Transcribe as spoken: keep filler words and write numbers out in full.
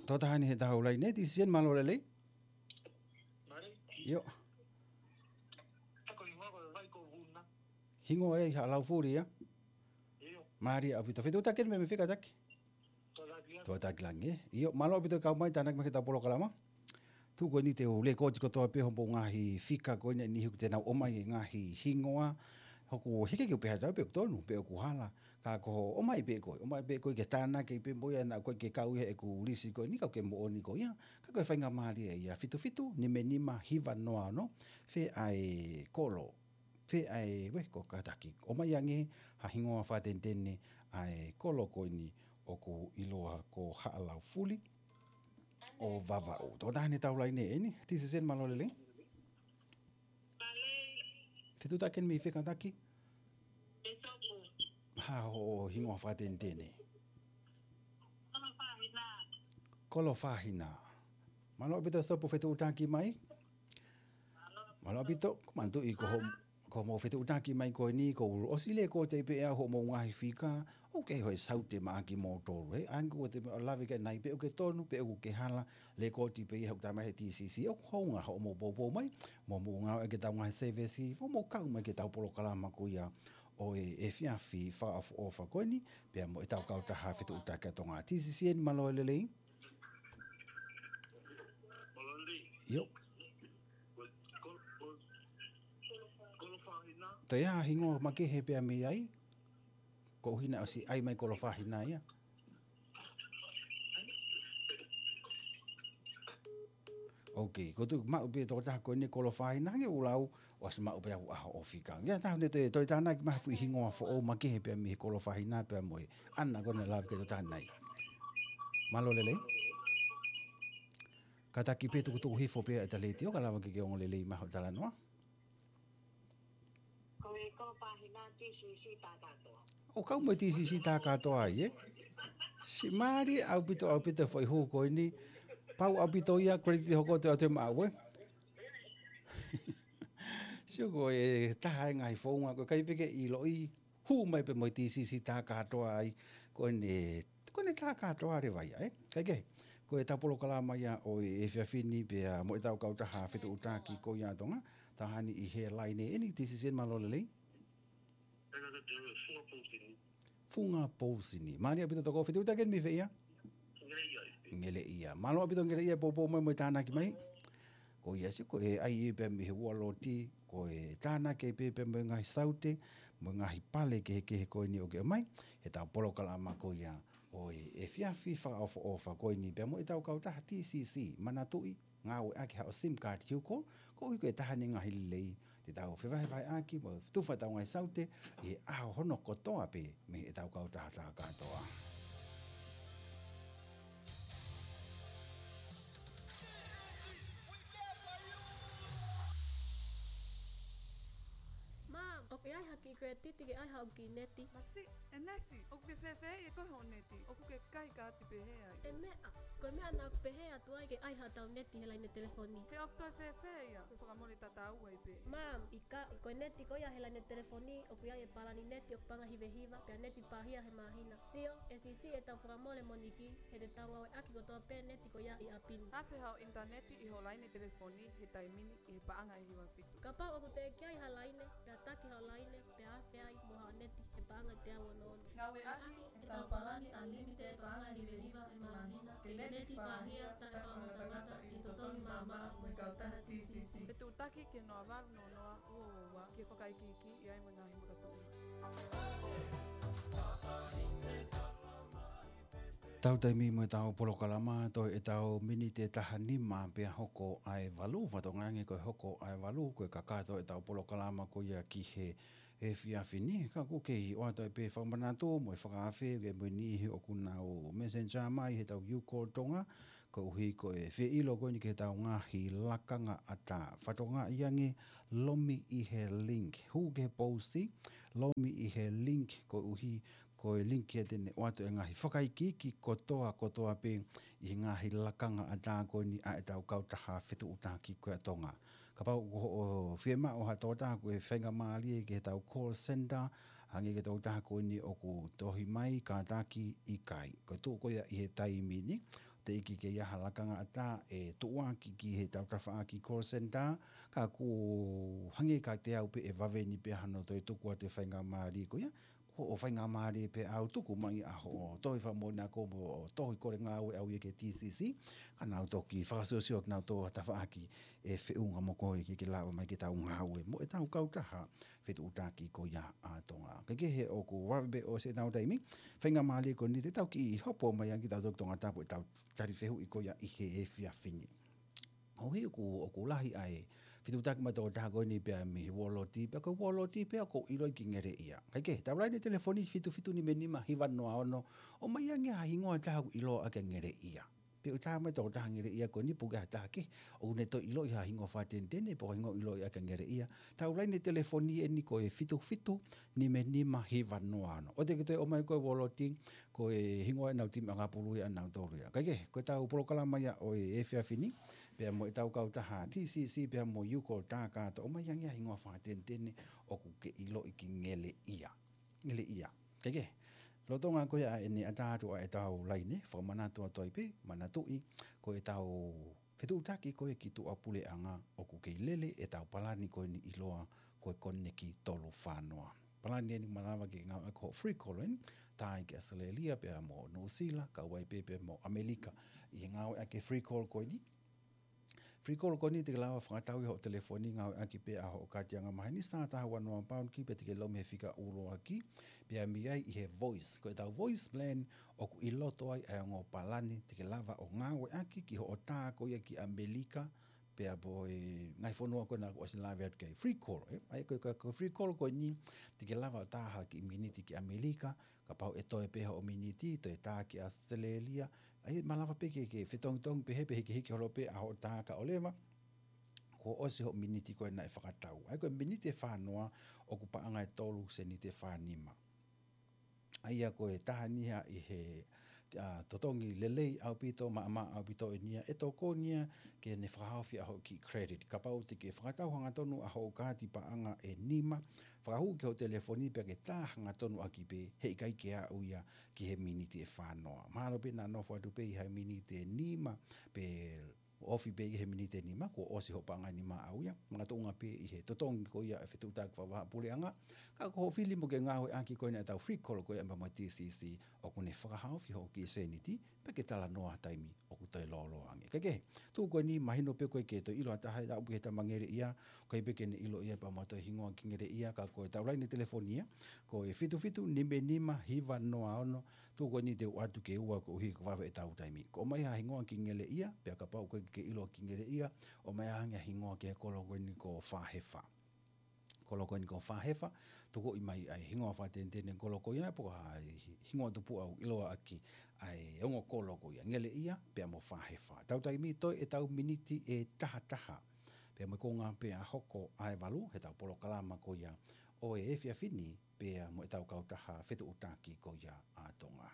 Tō taha ni he taha ʻoku laine, T C C N, mālō e lelei. Mālō. ʻIo. Hingoa ʻe Haʻa Laufuli ia. Mālō ʻaupito. Fetuʻutaki eni mei fē kātaki? Tuʻataki Langi. ʻIo, mālō ʻaupito e kau mai, tānaki mai ki heʻetau polokalama. Tuku eni te u lēkooti kotoa pē hoʻomou ngaahi fika ko eni, niʻihi ʻoku te nau ʻomai e ngaahi hingoa. ʻOku hiki ke u pehē atu pe ʻoku tonu, pe ʻoku hala. Ka ko hoʻo ʻomai pē koe, ʻomai pē koe ke tānaki pē mo ia, naʻa ʻoku ʻikai ke kau ia heʻeku lisi ko eni, ka ʻoku ke moʻoni ko ia. Ka ko e faingamālie ia, fitu fitu, nima nima, hiva noa ono, fē ʻa e kolo, fē ʻa e, ue, ko kātaki. ʻOmai ange ha hingoa fakatenetene ʻa e kolo ko eni ʻoku ʻiloa ko Haʻa Laufuli ʻo Vavaʻu. Tō taha ni he taha ʻoku laine eni, T C C N, mālō e lelei. Fetuʻutaki eni mei fē kātaki? Ha hoʻo hingoa fakatenetene? Kolo Fahina. Mālō ʻaupito Sopu fetuʻutaki mai. Mālō ʻaupito, ko manatuʻi ko hoʻo, ko hoʻomou fetuʻutaki mai ko eni, kuo u ʻosi lēkooti pē ʻe au hoʻomou ngaahi fika, ʻoku ʻi ai hoʻo saute maʻa kimoutolu, he ʻa eni ʻoku te lave ki ai nai pe ʻoku ke tonu, pe ʻoku ke hala, lēkooti pē ia ʻoku tala mai he T C C, ʻoku hounga hoʻomou poupou mai, mo mou ngāueʻaki ʻetau ngaahi sēvesi, mo mou kau mai ki heʻetau polokalama ko ia ʻo e efiafi fakaʻofoʻofa ko eni, pea mo ʻetau kautaha fetuʻutaki ʻa Tonga. T C C N, mālō e lelei. ʻIo. Toe ʻi ai ha hingoa makehe pea mei ai? Koeʻuhi naʻe ʻosi ʻai mai Kolo Fahina ia. Ok, ko tu maʻu pē tokotaha ko eni Kolo Fahina, hangē ʻoku lau, ʻosi maʻu pē ʻaho ʻo fika. Ia, taha ne toe, toe tānaki mai ha foʻi hingoa foʻou makehe pea mei he Kolo Fahina pea mo e ʻana ko eni lave ki he tokotaha nai. Mālō e lelei. Kātaki pē tukutuku hifo pē ʻeta letiō, ka lava ke ke ongo lelei mai hoʻo talanoa. Ko e Kolo Fahina T C C tā kātoa. ʻO kau mo e T C C tā kātoa ai, ē? Siʻi mālie ʻaupito, ʻaupito e foʻi hū ko eni. Pau ʻaupito ia, credit hoko atu ʻe maʻu, ē? Sio ko e taha e ngaahi founga, ko e ʻikai pē ke ʻiloʻi, hū mai pē mo e T C C tā kātoa ai, ko eni, ko eni tā kātoa leva ia, ē? Kaikehe, ko ʻetau polokalama ia ʻo e efiafi ni pea mo ʻetau kautaha fetuʻutaki ko ia ʻa Tonga, taha ni ʻi he laine eni, T C C N, mālō e lelei. Funga Pousini. Mālō ʻaupito tokoni, fetuʻutaki eni mei fē ia? Ngeleʻia. Mālō ʻaupito Ngeleʻia, poupou mai mo e tānaki mai. Ko ia sio ko e ʻai pē mei he ualoti, ko e tānaki pē pea mo e ngaahi saute, mo e ngaahi pale kehekehe ko eni ʻoku ke ʻomai, heʻetau polokalama ko ia ʻo e efiafi fakaʻofoʻofa ko eni pea mo ʻetau kautaha T C C, manatuʻi, ngāueʻaki haʻo sim card, hiuko, koeʻuhi ko e taha ni e ngaahi lelei, te tau fevahevaheʻaki, mo tufa ʻetau ngaahi saute, ʻi he ʻaho hono kotoa pē, mei heʻetau kautaha tā kātoa. Mom, ʻoku ʻi ai ha kiʻi credit ke ʻai haʻaku kiʻi neti? Masiʻi, ʻEnesi, ʻoku ke fēfē ʻi he koe hoʻo neti? ʻOku ke kai kaati pehē ai. ʻE meʻa, ko e meʻa naʻa ku pehē atu ai ke ʻai haʻatau neti he laine telefoni. He ʻoku toe fēfē ia, ko e fakamole tataua ai pē. Mom, ʻikai, ko e neti ko ia he laine telefoni, ʻoku ʻi ai e palani neti ʻoku paʻanga ʻe hiva hiva, pea neti pāhia he māhina. Sio, ʻe siʻisiʻi ʻetau fakamole moniti, he te tau ngāueʻaki kotoa pē neti ko ia ʻi ʻapi ni. Afe haʻo ʻinitaneti ʻi hoʻo laine telefoni he taimi ni ʻi he paʻanga ʻe hiva fitu. Kapau ʻoku teʻeki ai ha laine, pea taki haʻo laine, pea afe ai mo haʻo neti he paʻanga ʻe teau ono ono. Ngāueʻaki ʻetau palani unlimited paʻanga ʻe hiva hiva he māhina, ke neti pāhia taʻefakangatangata ʻi he totongi maʻamaʻa mo e kautaha T C C. Fetuʻutaki ki he noa valu noa noa ua ua ua, ke fakaikiiki ʻi ai mo e ngaahi makatuʻunga. Tau taimi mo ʻetau polokalama, toe ʻetau miniti ʻe taha nima pea hoko ʻa e valu, fatongia ange ko e hoko ʻa e valu, ko e kakato ʻetau polokalama ko ia ki he efiafi ni, ka ʻoku kei ʻoatu pē fakamanatu mo e fakaafe ke mo e niʻihi ʻoku nau messenger mai heʻetau U Call Tonga, koeʻuhi ko e fie ʻilo ko eni ki heʻetau ngaahi lakanga ʻatā. Fatongia ange, lomi ʻi he link. Hū ki he pousi, lomi ʻi he link koeʻuhi ko e link ia te ne ʻoatu e ngaahi fakaikiiki kotoa kotoa pē ʻi he ngaahi lakanga ʻatā ko eni ʻa ʻetau kautaha fetuʻutaki ko ia ʻa Tonga. Kapau ko hoʻo fiemaʻu ha tokotaha ko e faingamālie ki heʻetau call center, Hangē ko e tokotaha ko eni ʻoku tohi mai, kātaki ʻikai. Ko e tuʻu ko ia ʻi he taimi ni, teʻeki ke ʻi ai ha lakanga ʻatā ʻe tuʻuaki ki he tafaʻaki call center, ka ʻoku hangē kiate au pē ʻe vave ni pē hano toe tuku atu e faingamālie ko ia, ʻo, ʻo faingamālie pē au tuku mai ʻa hoʻo tohi fakamoʻoni ako mo tohi kole ngāue ʻau ia ki he T C C, ka nau toki fakasiosio ki nau tō ha tafaʻaki ʻe feʻunga mo koe ke ke lava mai ke tau ngāue mo ʻetau kautaha fetuʻutaki ko ia ʻa Tonga. Kae kehe ʻoku vave pē ʻosi ʻetau taimi, faingamālie ko eni te tau kiʻi hopo mai ange ki heʻetau toki Tongatapu ʻetau tali fehuʻi ko ia ʻi he efiafi ni. ʻOku, ʻoku lahi ʻa e fetuʻutaki mai tokotaha ko eni pea mei he Uoloti, pea ko e Uoloti pea ʻoku ʻiloʻi ki Ngeleʻia. Kae kehe, tau laine telefoni fitu fitu nima nima hiva noa ono, ʻomai ange ha hingoa ʻe taha ʻoku ʻiloa ʻaki ʻa Ngeleʻia. Pe ʻoku ʻi ai ha taha mai tokotaha Ngeleʻia ko eni pe ʻoku ʻi ai ha taha kehe ʻoku ne toe ʻiloʻi ha hingoa fakateniteni pe ko ha hingoa ʻiloa ʻaki ʻa Ngeleʻia. Tau laine telefoni eni ko e fitu fitu nima nima hiva noa ono. ʻOua te ke toe ʻomai ko e Uoloti, ko e hingoa ʻenau timi ʻakapulu ia ʻanautolu ia. Kae kehe, ko ʻetau polokalama ia ʻo e efiafi ni, pea mo ʻetau kautaha T C C, pea mo Yuko Takato, ʻomai ange ha hingoa fakateniteni ʻoku ke ʻiloʻi ki Ngeleʻia. Ngeleʻia. Kae kehe, lolotonga ko ia ʻene ʻatā atu ʻa ʻetau laine, fakamanatu atu ai pē, manatuʻi, ko ʻetau fetuʻutaki ko ē ki tuʻapuleʻanga ʻoku kei lele ʻetau palani ko eni ʻiloa ko e Koneki tolu fā noa. Palani eni ʻoku malava ke ngāueʻaki hoʻo free call eni, tā ia ki ʻAositelēlia pea mo Nuʻusila, kau ai pē pea mo ʻAmelika. ʻI he ngāueʻaki e free call ko eni, free call ko eni te ke lava fakatau ʻi hoʻo telefoni ngāueʻaki pē ʻa hoʻo kaati angamaheni, star taha ua noa pound key pea te ke lau mei he fika ʻuluaki, pea mei ai ʻi he voice. Ko ʻetau voice plan ʻoku ʻi loto ai ʻa e ongo palani te ke lava ʻo ngāueʻaki ki hoʻo tā ko ia ki ʻAmelika, pea mo e ngaahi fonua ko ena kuo ʻosi lave atu ki ai, free call, ē? ʻA ia ko e, ko e free call ko eni, te ke lava ʻo tā ha kiʻi miniti ki ʻAmelika, kapau ʻe toe pē hoʻo miniti, toe tā ki ʻAositelēlia, ʻa ia malava pē ke, ke fetongitongi pehē pe hikihiki holo pē ʻa hoʻo tā kae ʻoua leva kuo ʻosi hoʻo miniti ko ē naʻe fakatau. ʻA ia ko e miniti ʻe fā noa ʻoku paʻanga ʻe tolu seniti ʻe fā nima. ʻA ia ko e taha eni ia ʻi he, ʻa, totongi lelei ʻaupito, maʻamaʻa ʻaupito eni ia, ʻe tokoni ia ke ne fakahaofi ʻa hoʻo kiʻi credit. Kapau te ke fakatau hangatonu ʻa hoʻo kaati paʻanga ʻe nima, fakahū ki hoʻo telefoni pea ke tā hangatonu ʻaki pē, heʻikai ke aʻu ia ki he miniti ʻe fā noa. Mahalo pē naʻa nofo atu pē ʻi he miniti ʻe nima, pe ofi pē ʻi he miniti ʻe nima, kuo ʻosi hoʻo paʻanga ʻe nima ʻaʻau ia, makatuʻunga pē ʻi he totongi ko ia e fetuʻutaki fakavahaʻapuleʻanga, ka ko hoʻo fili mo ke ngāueʻaki ko ena ʻetau free call ko ia pea mo e T C C, ʻoku ne fakahaofi hoʻo kiʻi seniti, pea ke talanoa ha taimi ʻoku toe lōloa ange. Kae kehe, tuʻu ko eni mahino pē ko ē ke toe ʻilo ha taha ʻe aʻu pē ki he tama Ngeleʻia, ʻoku ʻikai pē ke ne ʻilo ia pea mo ha toe hingoa ki Ngeleʻia, ka ko ʻetau laine telefoni ia, ko e fitu fitu nima nima hiva noa ono, tuʻu ko eni te u ʻoatu ke ua koeʻuhi ko e vave ʻetau taimi. Ko e ʻomai ha hingoa ki Ngeleʻia, pea kapau ʻoku ʻikai ke ke ʻilo ki Ngeleʻia, ʻomai ange ha hingoa ki he kolo ko eni ko Fāhefa. Kolo ko eni ko Fāhefa, tukuʻi mai ʻa e hingoa fakateniteni kolo ko ia, pe ko ha hi-, hingoa tupuʻa ʻoku ʻiloa ʻaki ʻa e ongo kolo ko ia, Ngeleʻia, pea mo Fāhefa. Tau taimi toe ʻetau miniti ʻe taha taha. Pea mo e konga pē ʻa hoko ʻa e valu, heʻetau polokalama ko ia ʻo e efiafi ni, pea mo ʻetau kautaha fetuʻutaki ko ia ʻa Tonga.